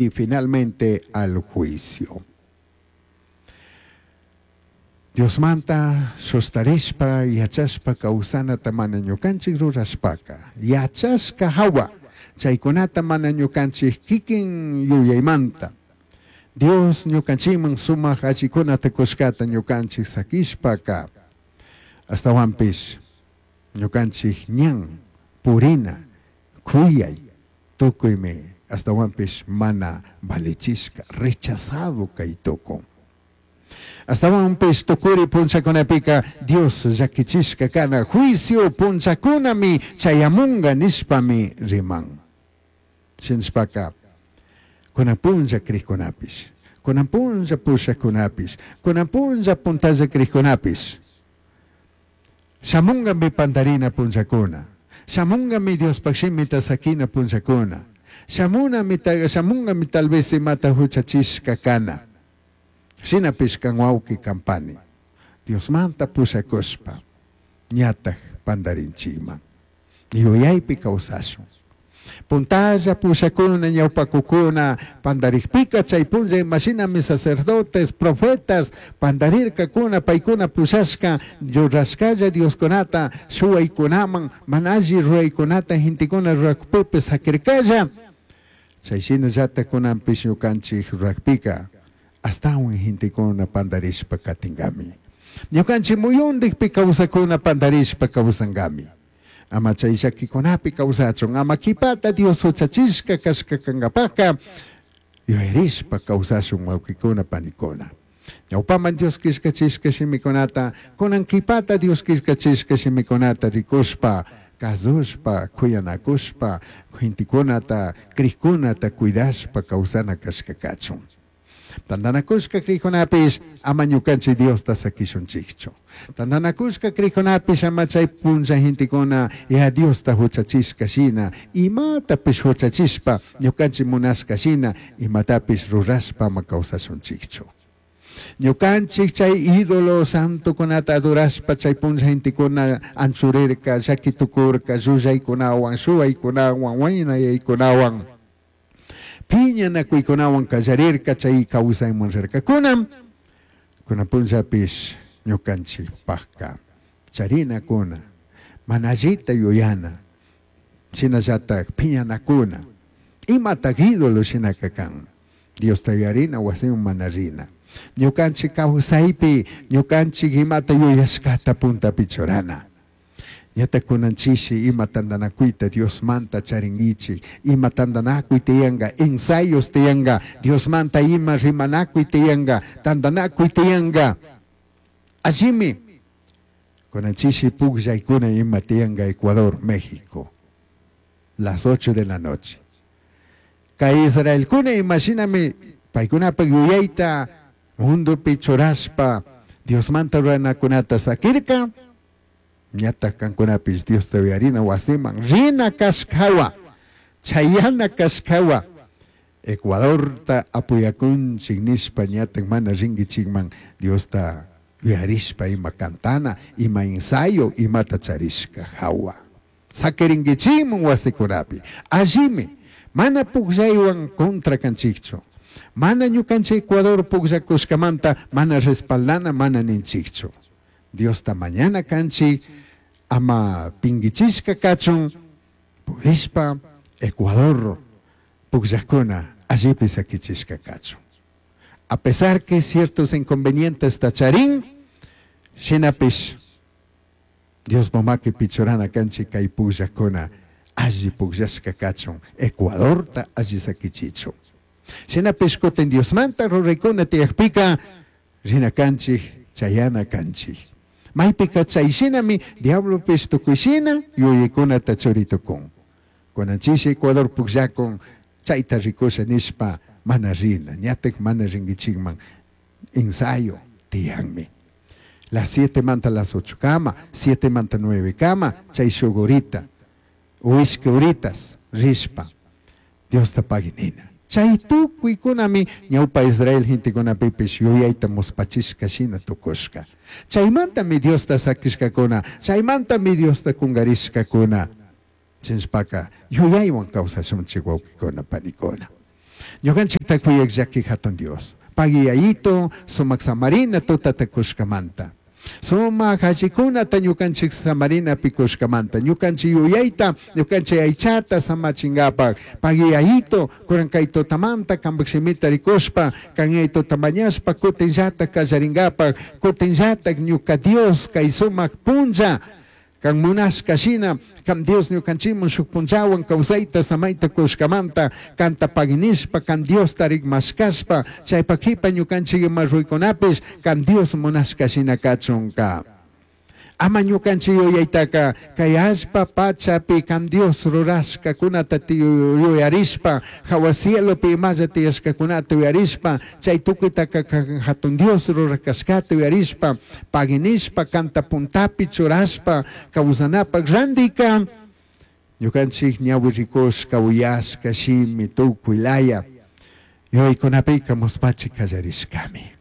Y finalmente al juicio. Diosmanta sustarishpa yachashpa causanata mana ñucanchij rurashpaca, yachashca jahua chaicunata mana ñucanchij kikin yuyaimanta, Dios ñucanchijman sumaj allicunata cushcata ñucanchij saquishpaca, ashtahuanpish ñucanchij ñan purina cuyai tucuimi ashtahuanpish mana valichishca, rechazado cai tucun. Ashtahuanpish tucuri punllacunapica Dios llaquichishca cana juicio punllacunami chayamunga nishpami riman. Shinashpaca cunan punlla crijcunapish, cunan punlla pushajcunapish, cunan punlla puntalla crijcunapish, shamungami pandarina punllacuna, shamungami Diospaj shimita saquina punllacuna, shamunami, shamungami tal vez imata juchachishca cana. Shinapish can huauqui can pani, Diosmanta pushacushpa ñataj pandarinchijman. Yuyaipi causashun. Puntalla pushacuna ñaupacucuna pandarijpica chai punlla imashinami sacerdotes, profetas pandarircacuna paicuna pushashca rurashcalla dioscunata shuhuaicunaman mana alli ruraicunata gentecuna rurajpipish saquircalla. Chai shinallata cunanpish ñucanchij rurajpica ashtahuan gentecuna pandarishpa catingami. Ñucanchij muyundijpi causacuna pandarishpa causangami. Ama chai llaquicunapi causachun, ama quipata Dios juchachishca cashca cangapajca yuyarishpa causashun huauquicuna panicuna. Ñaupaman Dios quillcachishca shimicunata, cunan quipata Dios quillcachishca shimicunata ricushpa, cazushpa, cuyanacushpa, gentecunata, crijcunata cuidashpa causana cashca cachun. Tandanacushca crijcunapish ama ñucanchij Diosta saquishunchijchu. Tandanacushca crijcunapish ama chai punlla gentecuna ya Diosta juchachishca shina, imatapish juchachishpa, ñucanchij munashca shina, imatapish rurashpa ama causashunchijchu. Ñucanchij chai ídolo santocunata adorashpa chai punlla gentecuna anchurirca, llaqui tucurca, llullaicunahuan, shuhuaicunahuan, huainayaicunahuan, piñanacuicunahuan callarirca, chai causaiman rircacuna. Cunan punllapish ñucanchijpajca charinacuna, mana allita yuyana, shinallataj piñanacuna, imataj ídolo shinaca can. Diosta yuyarina huasiman mana rina. Ñucanchij causaipi, ñucanchij imata yuyashcata puntapi churana. Ñata cunan chishi ima tandanacuita Diosmanta charinguichij, ima tandanacui tiyanga, ensayos tiyanga, Diosmanta ima rimanacui tiyanga, tandanacui tiyanga. Allimi, cunan chishi pugllaicuna ima tiyanga Ecuador, México, las 8 de la noche. Cai Israelcuna imashinami paicunapaj yuyaita mundopi churashpa Diosmanta ruranacunata saquirca, ñataj cancunapish Diosta yuyarina huasiman rina cashcahuan, chayana cashcahuan, Ecuadorta apoyacunchik nishpa ñataj mana ringuichikman Diosta yuyarishpa ima cantana, ima ensayo, imata charishca jahua. Saquiringuichikman wasicunapi. Allimi, mana pugllaihuan contra canchikchu. Mana ñucanchik Ecuador pugllacushcamanta mana respaldana mana ninchikchu. Diosta mañana canchik, ama pinguichishca cachun, pudishpa Ecuador pugllacuna allipi saquichishca cachun. A pesar que ciertos inconvenientes ta charin, shinapish Diospa maquipi churana canchik cai pugllacuna alli pugllashca cachun, Ecuadorta alli saquichichun. Shinapish cutin Diosmanta ruraicuna tiyajpica rina canchij, chayana canchij. Maipica chai shinami diablopish tucui shina yuyaicunata churi tucun. Cunan chishi Ecuador pugllacun chaita ricusha nishpa mana rina, ñataj mana ringuichijman ensayo tiyanmi. Las 7 manta las 8 cama, 7 manta 9 cama, chai shuk horita, o ishqui horitas rishpa Diosta pagui nina. Chai tucuicunami ñaupa Israel gentecunapipish yuyaita muspachishca shina tucushca. Chaimantami Diosta saquishcacuna, chaimantami Diosta cungarishcacuna. Chinshpaca yuyaihuan causashunchij huauquicuna, panicuna. Ñukanchikta kuyaq llaki hatun Dios. Pagui Yayito, sumak samarina tutata kushkamanta. Sumak allikunata ñukanchik samarinapi kushkamanta. Ñukanchik yuyayta, ñukanchik aychata samachinkapak. Pagui Yayito, kunan kay tutamanta kanpak shimita rikushpa, kan Yayituta mañashpa kutinllatak kallarinkapak, kutinllatak ñuka Dios kay sumak punlla, kan munashka shina, kan Dios ñukanchikman shuk punllawan kawsayta samayta kushkamanta, kanta paginishpa, kan Diosta rikmashkashpa, chaypak kipa ñukanchik ima ruykunapish, kan Dios munashka shina kachunka. Ama ñukanchik yuyaytaka kay allpa pachapi kan Dios rurashkakunata yuyarishpa, hawa cielopi imalla tiyashkakunata yuyarishpa, chay tukuytaka kan hatun Dios rurakashkata yuyarishpa, paginishpa, kanta puntapi churashpa, kawsanapak randika, ñukanchik ñawi rikushka, uyashka, shimi, tukuy laya, yuyaykunapika muspachi kallarishkami.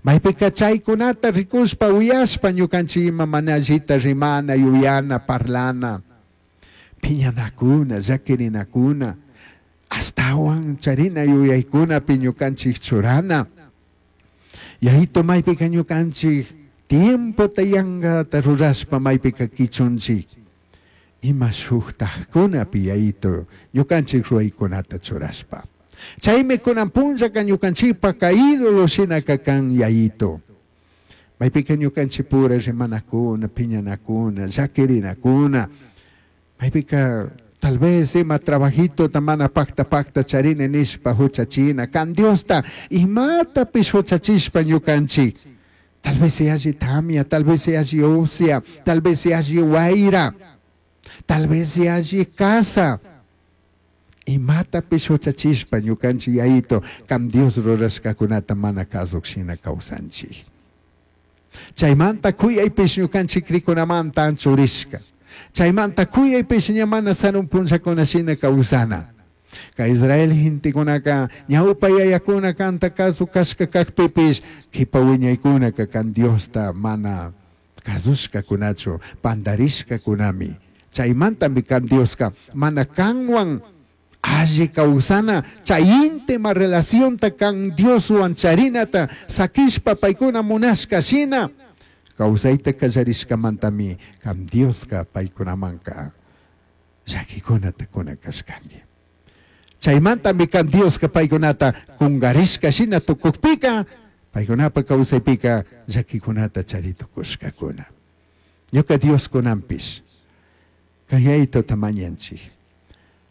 Maypika chaykunata rikushpa, uyashpa, ñukanchik ima mana allita rimana, yuyana, parlana, piñanakuna, llakirinakuna, astawan charina yuyaykunapi ñukanchik churana. Yayito maypika ñukanchik tiempota yankata rurashpa maypika kichunchik. Ima shuktajkunapi Yayito ñukanchik ruwaykunata churashpa. Chaymi kunan punllaka ñukanchikpaka ídolo shinaka kan Yayito. Maypika ñukanchikpura rimanakuna, piñanakuna, llakirinakuna. Maypika tal vez ima trabajito mana pakta pakta charini nishpa huchachina, kan Diosta imatapish huchachishpa ñukanchik. Tal vez alli tamia, tal vez alli usia, tal vez alli wayra, tal vez alli casa. Imatapish huchachishpa ñukanchik Yayito, kan Dios rurashkakunata mana kasuk shina kawsanchik. Chaymanta kuyaypish ñukanchik rikunamanta anchurishka. Chaymanta kuyaypish ña mana sarun punllakuna shina kawsana. Kay Israel gentekunaka ñawpa yayakuna kanta kasu kashka kakpipish kipa wiñaykunaka kan Diosta mana kasushkakunachu, pandarishkakunami. Chaymantami kan Dioska mana kanwan alli kawsana, chay íntima relacionta kan Dioswan charinata sakishpa paykuna munashka shina kawsayta kallarishkamantami kan Dioska paykunamanka llakikunata kuna kashkanki. Chaymantami kan Dioska paykunata kungarishka shina tukukpika paykunapa kawsaypika llakikunata chari tukushkakuna. Ñuka Dios kunanpish kan Yayituta mañanchik.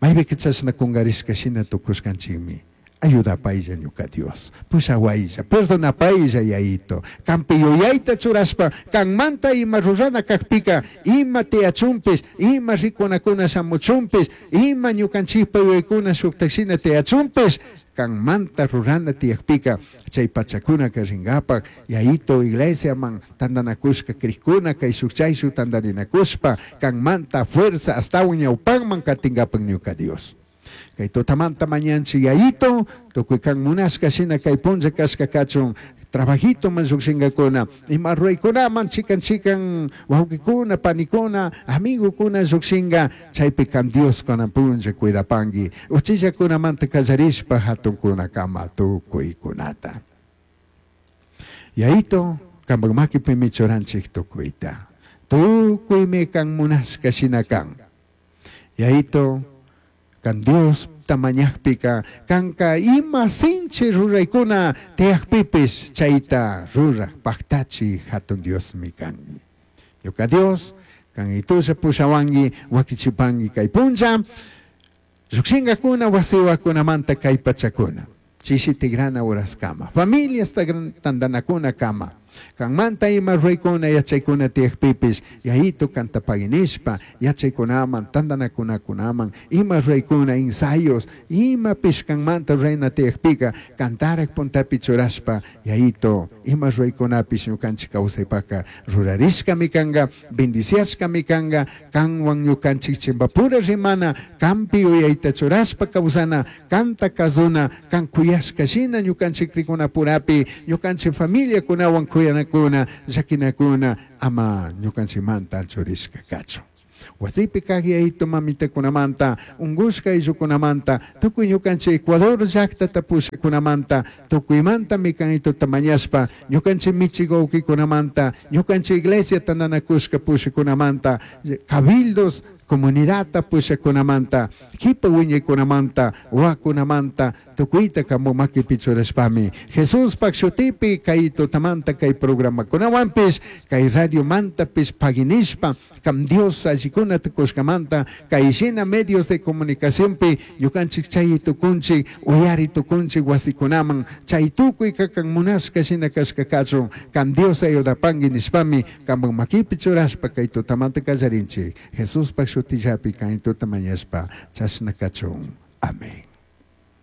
Maypika chashna kungarishka shina tukushkanchikmi. Ayudapaylla ñuka Dios, pushawaylla, perdonapaylla Yayito. Kanpi yuyayta churashpa, kanmanta ima rurana kakpika, ima tiyachunpish, ima rikunakuna shamuchunpish, ima ñukanchikpa yuyaykuna shuktak shina tiyachunpish, kanmanta rurana tiyakpika, chay pachakunaka rinkapak, Yayito iglesiaman tantanakushka krikuna, kay shuk chay shuk tantarinakushpa, kanmanta fuerza astawan ñawpakman katinkapak ñuka Dios. Kay tutamanta mañanchik Yayito, tukuy kan munashka shina kay punlla kashka kachun, trabajito man llukshinkakuna, ima ruraykunaman chikan chikan wawqikuna, panikuna, amigokuna llukshinka, chaypi kan Dios kunan punlla cuidapanki, uchillakunamanta kallarishpa hatunkunakama tukuykunata. Yayito, kanpak makipimi churanchik tukuyta. Tukuymi kan munashka shina kan. Yayito, kan Dios tamañakpika, kanka ima sinchi ruraykuna tiyakpipis chayta rurak paktachi hatun Diosmi kanki. Ñuka Dios, kan itusha pushawanki, wakichipanki kay punlla, llukshinkakuna wasiwakunamanta kay pachakuna. Chishi tigrana uraskama, familias tantanakuna kama. Kanmanta ima ruraykuna yachaykuna tiyakpipis, Yayito kantapaginishpa, yachaykunaman, tantanakunakunaman, ima ruraykuna ensayos, imapish kanmanta rurayna tiyakpika, kantarak puntapi churashpa, Yayito, ima ruraykunapish ñukanchik kawsaypaka rurarishkami kanka, bendiciashkami kanka, kanwan ñukanchik chimpapura rimana, kanpi yuyayta churashpa kawsana, kanta kasuna, kan kuyashka shina ñukanchik rikunapurapi, ñukanchik familiakunawan kuyanakuna, llakinakuna, ama ñukanchikmanta anchurishka kachun. Wasipi kaq yayitu mamitakunamanta, unkushka ayllukunamanta, tukuy ñukanchik Ecuador llaktata pushakunamanta, tukuymantami kan tuta mañashpa, ñukanchik michik wawkikunamanta, ñukanchik iglesia tandanakushka pushakunamanta, cabildos comunidadta pushakunamanta, kipa wiñaykunamanta, wakunamanta, tukuyta kanpak makipi churashpami Jesuspak shutipi kay tutamanta kay programakunawanpish, kay radiomantapish paginishpa, kam Dios allikunata kushkamanta, kay shina medios de comunicacionpi ñukanchik chay tukunchik, uyari tukunchik wasikunaman, chay tukuy kakan munashka shina kashka kachun, kam Dios ayudapanki nishpami, kanpak makipi churashpa kay tutamanta kallarinchik. Jesuspak shutillapi kay tuta mañashpa, chashna kachun. Amén.